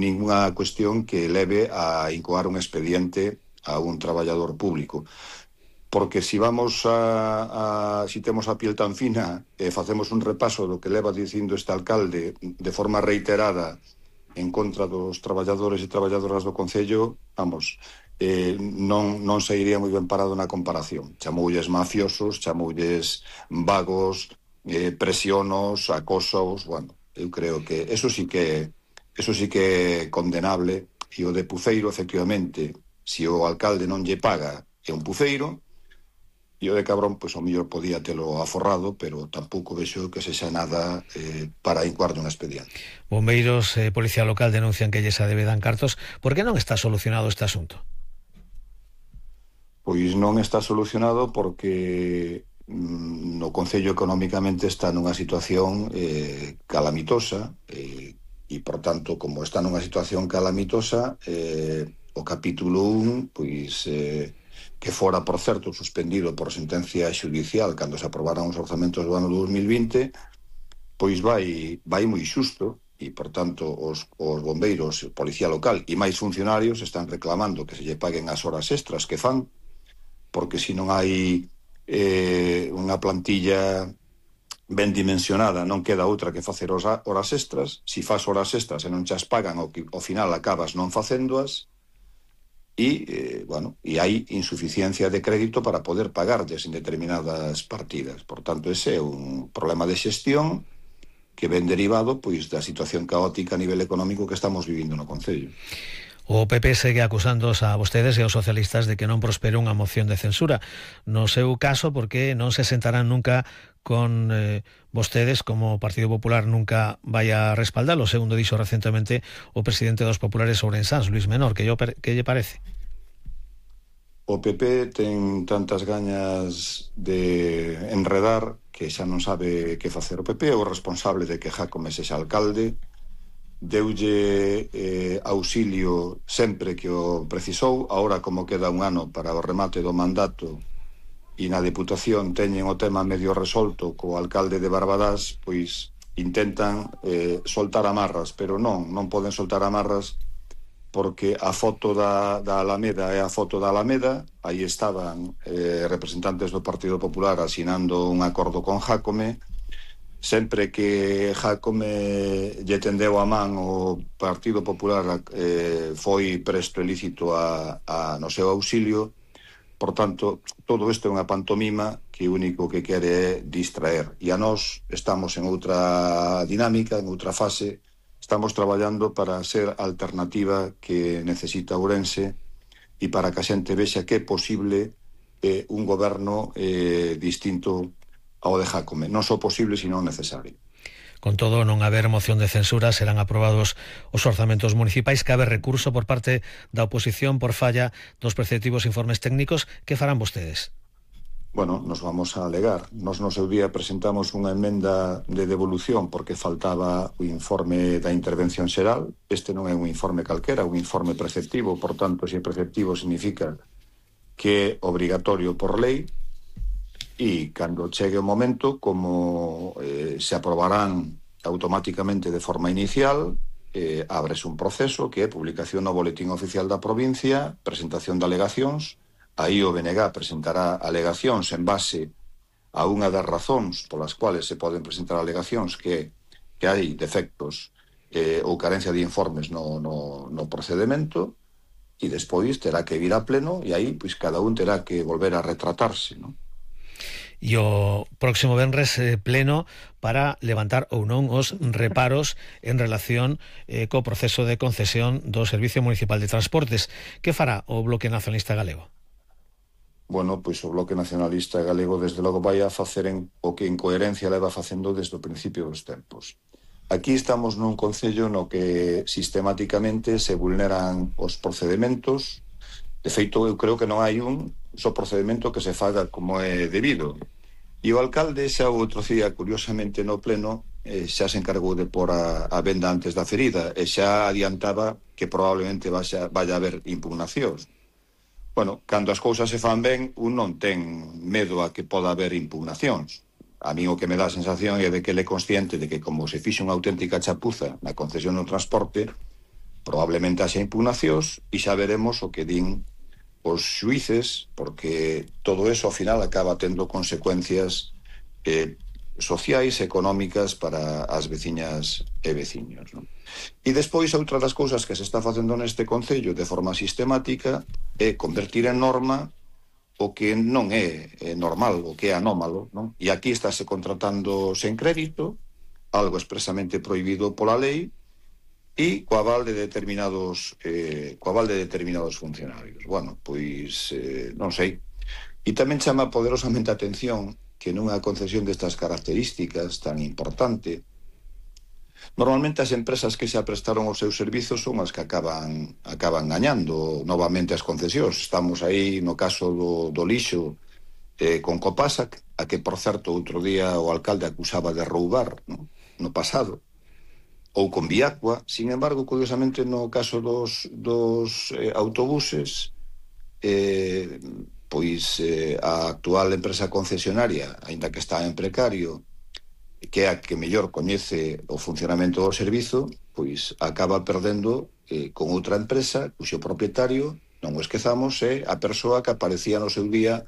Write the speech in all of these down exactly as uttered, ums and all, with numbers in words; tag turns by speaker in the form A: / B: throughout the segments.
A: ninguna cuestión que leve a incoar un expediente a un traballador público. Porque si vamos a, a si temos a piel tan fina e eh, facemos un repaso do que leva dicindo este alcalde de forma reiterada en contra dos traballadores e traballadoras do Concello, vamos, eh, non, non se iría moi ben parado na comparación. Chamoulles mafiosos, chamoulles vagos, eh, presionos, acosos, bueno, eu creo que eso sí que eso sí que é condenable, e o de Puceiro, efectivamente, se o alcalde non lle paga é un puceiro. E o de Cabrón, pois, ao mellor podía telo aforrado, pero tampouco vexo que sexa nada eh, para incoar un expediente.
B: Bombeiros e eh, Policía Local denuncian que lles adebedan cartos. Por que non está solucionado este asunto?
A: Pois non está solucionado porque mm, no Concello económicamente está nunha situación eh, calamitosa eh, e, por tanto, como está nunha situación calamitosa, eh, o capítulo un, pois... Eh, que fora, por certo, suspendido por sentencia xudicial cando se aprobaran os orzamentos do ano dos mil vinte, pois vai, vai moi xusto, e, por tanto, os, os bombeiros, policía local e máis funcionarios están reclamando que se lle paguen as horas extras que fan, porque se non hai eh, unha plantilla ben dimensionada, non queda outra que facer horas extras. Si faz horas extras e non chas pagan, ao, ao final acabas non facéndoas. E, eh, bueno, e hai insuficiencia de crédito para poder pagarlles en determinadas partidas. Por tanto, ese é un problema de xestión que ven derivado pois da situación caótica a nivel económico que estamos vivindo no Concello.
B: O P P segue acusándoos a vostedes e aos socialistas de que non prospera unha moción de censura. No seu caso, porque non se sentarán nunca con eh, vostedes, como o Partido Popular nunca vai a respaldalo, segundo dixo recentemente o presidente dos populares ourensáns, Luis Menor. Que, yo, que lle parece?
A: O P P ten tantas gañas de enredar que xa non sabe que facer. O P P é o responsable de que Jácome sexa alcalde, deulle eh, auxilio sempre que o precisou. Ahora, como queda un ano para o remate do mandato e na Deputación teñen o tema medio resolto co alcalde de Barbadás, pois intentan eh, soltar amarras, pero non, non poden soltar amarras porque a foto da, da Alameda é a foto da Alameda. Aí estaban eh, representantes do Partido Popular asinando un acordo con Jácome. Sempre que Jácome lle tendeu a man o Partido Popular eh, foi presto e lícito a, a, no seu auxilio. Por tanto, todo isto é unha pantomima que o único que quere é distraer. E a nós estamos en outra dinámica, en outra fase. Estamos traballando para ser a alternativa que necesita Ourense e para que a xente vexa que é posible eh, un goberno eh, distinto ao de Jácome. Non só posible, sino necesario.
B: Con todo, non haber moción de censura, serán aprobados os orzamentos municipais. Cabe recurso por parte da oposición por falla dos preceptivos informes técnicos. Que farán vostedes?
A: Bueno, nos vamos a alegar. Nos no seu día presentamos unha emenda de devolución porque faltaba o informe da intervención xeral. Este non é un informe calquera, un informe preceptivo. Por tanto, se é preceptivo significa que é obrigatorio por lei. E cando chegue o momento, como eh, se aprobarán automáticamente de forma inicial, eh, ábrese un proceso que é publicación no Boletín Oficial da provincia, presentación de alegacións. Aí o B N G presentará alegacións en base a unha das razóns polas cuales se poden presentar alegacións, que, que hai defectos eh, ou carencia de informes no, no, no procedimento, e despois terá que vir a pleno, e aí pois cada un terá que volver a retratarse, non?
B: E o próximo venres eh, pleno para levantar ou non os reparos en relación eh, co proceso de concesión do Servicio Municipal de Transportes. Que fará o Bloque Nacionalista Galego?
A: Bueno, pois o Bloque Nacionalista Galego desde logo vai a facer en, o que en coherencia leva facendo desde o principio dos tempos. Aquí estamos nun concello no que sistemáticamente se vulneran os procedementos. De feito, eu creo que non hai un só procedimento que se faga como é debido. E o alcalde xa o outro día, curiosamente no pleno, eh, xa se encargou de pôr a, a venda antes da ferida e xa adiantaba que probablemente vaya, vaya a haber impugnacións. Bueno, cando as cousas se fan ben, un non ten medo a que poda haber impugnacións. A mí o que me dá a sensación é de que ele é consciente de que como se fixe unha auténtica chapuza na concesión do transporte, Probablemente haxa impugnacións e xa veremos o que din os xuíces, porque todo eso ao final acaba tendo consecuencias eh, sociais, económicas para as veciñas e veciños, non? E despois, outra das cousas que se está facendo neste concello de forma sistemática é convertir en norma o que non é, é normal, o que é anómalo, non? E aquí estáse contratando sen crédito, algo expresamente prohibido pola lei, e co aval de determinados eh, co aval de determinados funcionarios. Bueno, pois eh, non sei. E tamén chama poderosamente a atención que nunha concesión destas características tan importante, normalmente as empresas que se aprestaron os seus servizos son as que acaban acaban gañando novamente as concesións. Estamos aí no caso do, do lixo eh, con Copasa, a que, por certo, outro día o alcalde acusaba de roubar, no, no pasado, ou con Viacua. Sin embargo, curiosamente, no caso dos, dos eh, autobuses, eh, pois eh, a actual empresa concesionaria, aínda que está en precario, que é a que mellor coñece o funcionamento do servizo, pois acaba perdendo eh, con outra empresa cuxo propietario, non o esquezamos, é a persoa que aparecía no seu día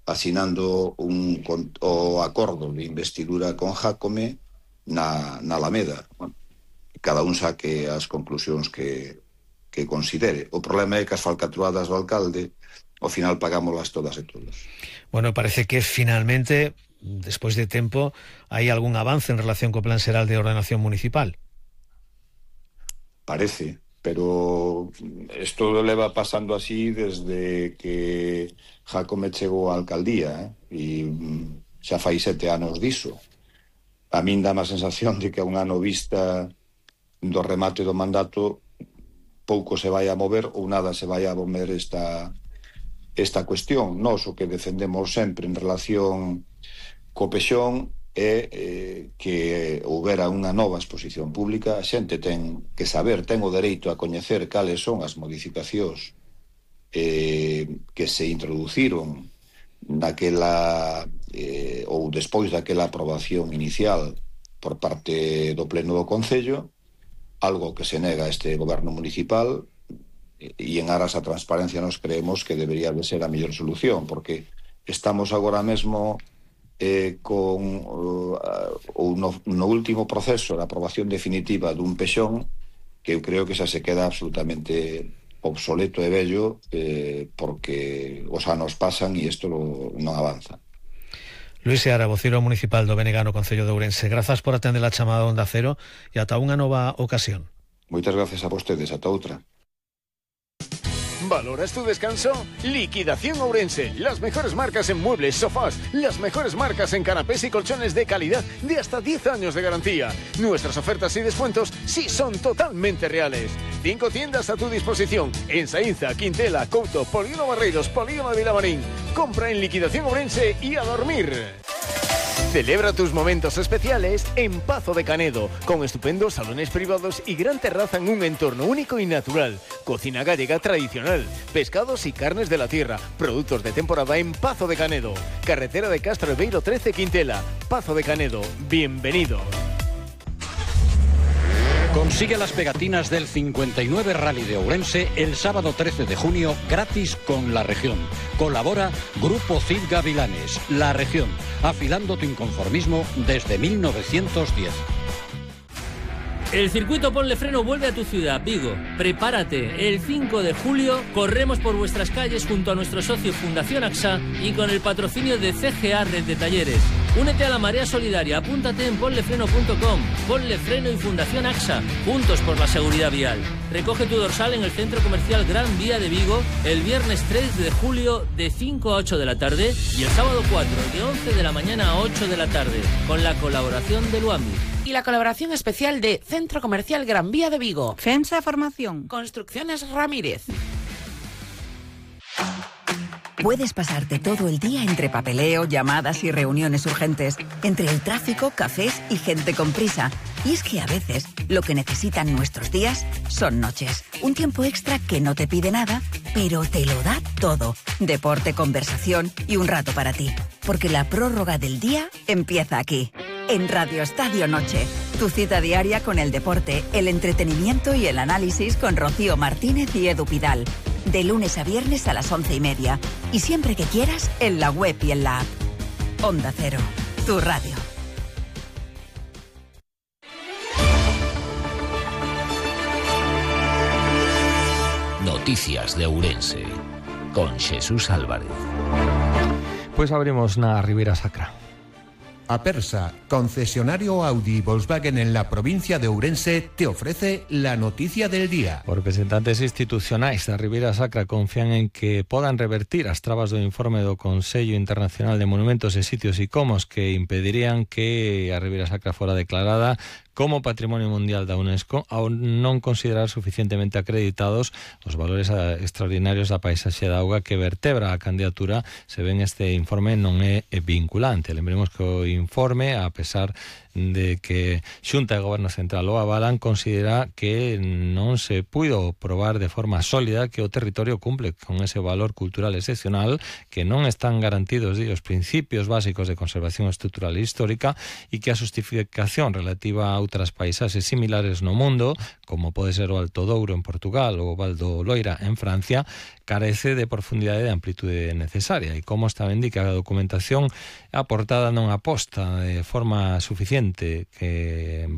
A: asinando un, con, o acordo de investidura con Jácome na, na Alameda. Bueno, cada un saque as conclusións que, que considere. O problema é que as falcatruadas do alcalde ao final pagámoslas todas e todos.
B: Bueno, parece que finalmente, despois de tempo, hai algún avance en relación co Plan Xeral de Ordenación Municipal.
A: Parece, pero isto leva pasando así desde que Jácome chegou á alcaldía, eh? E xa fai sete anos diso. A min dá má sensación de que a un ano vista do remate do mandato pouco se vai a mover ou nada se vai a mover esta, esta cuestión. Nós o que defendemos sempre en relación co Pexón é eh, que houbera unha nova exposición pública. A xente ten que saber, ten o dereito a coñecer cales son as modificacións eh, que se introduciron naquela eh, ou despois daquela aprobación inicial por parte do Pleno do Concello, algo que se nega a este goberno municipal, e en aras a transparencia nos creemos que debería de ser a mellor solución, porque estamos agora mesmo eh, con uh, uh, no, no último proceso de aprobación definitiva dun Pexón que eu creo que xa se queda absolutamente obsoleto e vello, eh, porque os anos pasan e isto lo, non avanza.
B: Luis Seara, vocero municipal do B N G no Concello de Ourense, grazas por atender a chamada Onda Cero e ata unha nova ocasión.
A: Moitas gracias a vostedes, ata outra.
C: ¿Valoras tu descanso? Liquidación Ourense. Las mejores marcas en muebles, sofás. Las mejores marcas en canapés y colchones de calidad de hasta diez años de garantía. Nuestras ofertas y descuentos sí son totalmente reales. Cinco tiendas a tu disposición. En Saínza, Quintela, Couto, Polígono Barreiros, Polígono de Vilamarín. Compra en Liquidación Ourense y a dormir. Celebra tus momentos especiales en Pazo de Canedo, con estupendos salones privados y gran terraza en un entorno único y natural. Cocina gallega tradicional, pescados y carnes de la tierra, productos de temporada en Pazo de Canedo. Carretera de Castro Beiro trece Quintela. Pazo de Canedo, bienvenido.
D: Consigue las pegatinas del cincuenta y nueve Rally de Ourense el sábado trece de junio gratis con La Región. Colabora Grupo Cid Gavilanes. La Región, afilando tu inconformismo desde mil novecientos diez.
E: El circuito Ponle Freno vuelve a tu ciudad, Vigo. Prepárate, el cinco de julio corremos por vuestras calles junto a nuestro socio Fundación AXA y con el patrocinio de C G A Red de Talleres. Únete a la marea solidaria, apúntate en ponlefreno punto com. Ponle Freno y Fundación AXA, juntos por la seguridad vial. Recoge tu dorsal en el Centro Comercial Gran Vía de Vigo el viernes tres de julio de cinco a ocho de la tarde y el sábado cuatro de once de la mañana a ocho de la tarde, con la colaboración de Luambi.
F: Y la colaboración especial de Centro Comercial Gran Vía de Vigo.
G: FEMSA Formación.
F: Construcciones Ramírez.
G: Puedes pasarte todo el día entre papeleo, llamadas y reuniones urgentes, entre el tráfico, cafés y gente con prisa. Y es que a veces lo que necesitan nuestros días son noches. Un tiempo extra que no te pide nada, pero te lo da todo. Deporte, conversación y un rato para ti. Porque la prórroga del día empieza aquí, en Radio Estadio Noche. Tu cita diaria con el deporte, el entretenimiento y el análisis con Rocío Martínez y Edu Pidal. De lunes a viernes a las once y media. Y siempre que quieras, en la web y en la app. Onda Cero, tu radio.
H: Noticias de Ourense, con Jesús Álvarez.
I: Pues abrimos na Ribeira Sacra.
J: Apersa, concesionario Audi y Volkswagen en la provincia de Ourense, te ofrece la noticia del día.
I: Os representantes institucionais da Ribeira Sacra confían en que podan revertir as trabas do informe do Consello Internacional de Monumentos e Sitios Icomos que impedirían que a Ribeira Sacra fora declarada como Patrimonio Mundial da UNESCO ao non considerar suficientemente acreditados os valores extraordinarios da paisaxe da auga que vertebra a candidatura, se ven este informe non é vinculante. Lembremos que o informe, a pesar de que Xunta e Goberno Central o avalan, considera que non se puido probar de forma sólida que o territorio cumple con ese valor cultural excepcional, que non están garantidos di, os principios básicos de conservación estrutural e histórica e que a justificación relativa a outras paisaxes similares no mundo, como pode ser o Alto Douro en Portugal ou o Val do Loira en Francia, carece de profundidade e de amplitude necesaria. E como está indica a documentación aportada non aposta de forma suficiente que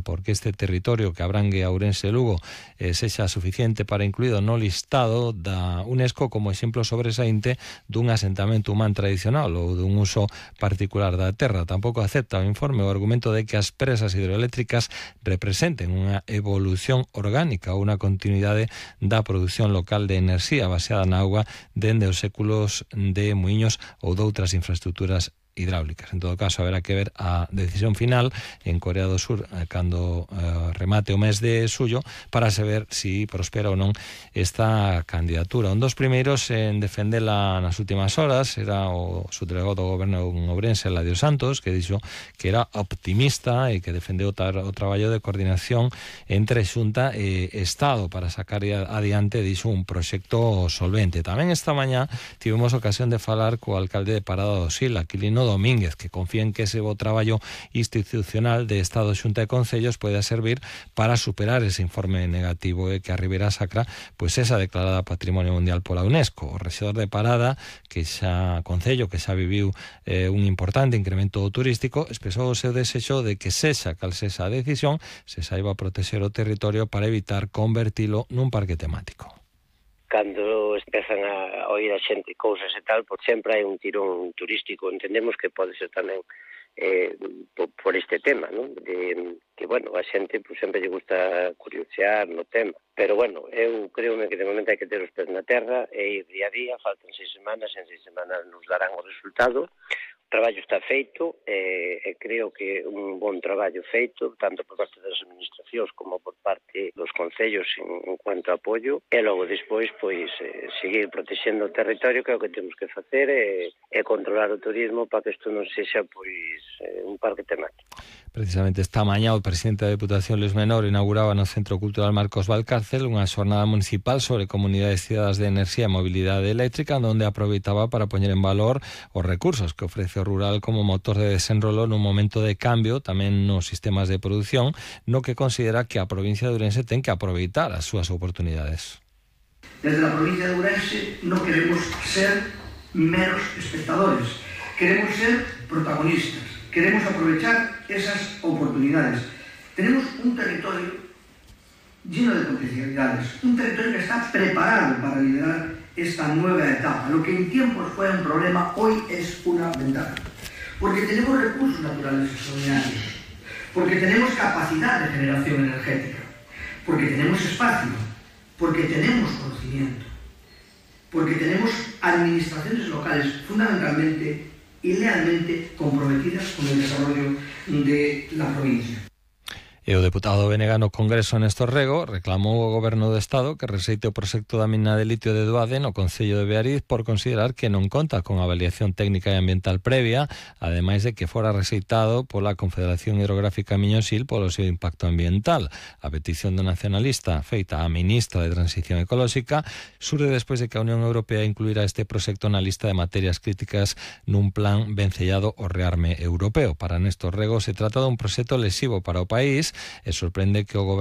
I: porque este territorio que abrangue a Ourense e Lugo eh, sexa suficiente para incluído no listado da UNESCO como exemplo sobresaínte dun asentamento humán tradicional ou dun uso particular da terra. Tampouco acepta o informe o argumento de que as presas hidroeléctricas representen unha evolución orgánica ou unha continuidade da produción local de enerxía baseada na auga dende os séculos de muiños ou doutras infraestructuras hidráulicas. En todo caso, haberá que ver a decisión final en Corea do Sur eh, cando eh, remate o mes de suyo para saber si prospera ou non esta candidatura. Un dos primeiros en defendela nas últimas horas era o subdelegado do goberno en Ourense, Eladio Santos, que dixo que era optimista e que defendeu o, tar, o traballo de coordinación entre Xunta e Estado para sacar adiante, dixo, un proxecto solvente. Tamén esta mañá tivemos ocasión de falar co alcalde de Parada do Sil, Aquilino Domínguez, que confía en que ese bo traballo institucional de Estado, Xunta e Concellos poida servir para superar ese informe negativo e que a Ribeira Sacra pois esa declarada Patrimonio Mundial pola UNESCO. O rexedor de Parada, que xa Concello, que xa viviu eh, un importante incremento turístico, expresou o seu desexo de que sexa cal sexa a decisión, se saiba protexer o territorio para evitar convertilo nun parque temático.
K: Cando empezan a oír a xente cousas e tal, por sempre hai un tirón turístico. Entendemos que pode ser tamén eh, por, por este tema, ¿no? De que, bueno, a xente pues, sempre lle gusta curiosear no tema. Pero, bueno, eu creo que de momento hai que ter os pés na terra e ir día a día, faltan seis semanas, en seis semanas nos darán o resultado. O traballo está feito e, e creo que un bon traballo feito, tanto por parte das administracións como por parte dos concellos en, en cuanto a apoio, e logo despois pois eh, seguir protexendo o territorio, que é o que temos que facer, e, e controlar o turismo para que isto non sexa pois eh, un parque temático.
I: Precisamente esta mañá o presidente da Deputación, Luis Menor, inauguraba no Centro Cultural Marcos Valcárcel unha xornada municipal sobre comunidades cidadás de enerxía e mobilidade eléctrica, onde aproveitaba para poñer en valor os recursos que ofrece o rural como motor de desenrolo nun momento de cambio tamén nos sistemas de produción, no que considera que a provincia de Ourense ten que aproveitar as súas oportunidades.
L: Desde a provincia de Ourense non queremos ser meros espectadores, queremos ser protagonistas, queremos aprovechar esas oportunidades. Tenemos un territorio lleno de potencialidades, un territorio que está preparado para liderar esta nueva etapa. Lo que en tiempos fue un problema, hoy es una ventaja. Porque tenemos recursos naturales extraordinarios, porque tenemos capacidad de generación energética, porque tenemos espacio, porque tenemos conocimiento, porque tenemos administraciones locales fundamentalmente y lealmente comprometidas con el desarrollo de la provincia.
I: E o deputado Venega no Congreso Néstor Rego reclamou ao Goberno do Estado que rexeite o proxecto da mina de litio de Doade no Concello de Beariz por considerar que non conta con avaliación técnica e ambiental previa, ademais de que fora rexeitado pola Confederación Hidrográfica Miñosil polo seu impacto ambiental. A petición do nacionalista feita á ministra de Transición Ecolóxica surde despois de que a Unión Europea incluíra este proxecto na lista de materias críticas nun plan vencellado ao rearme europeo. Para Néstor Rego se trata dun proxecto lesivo para o país e sorprende que o goberno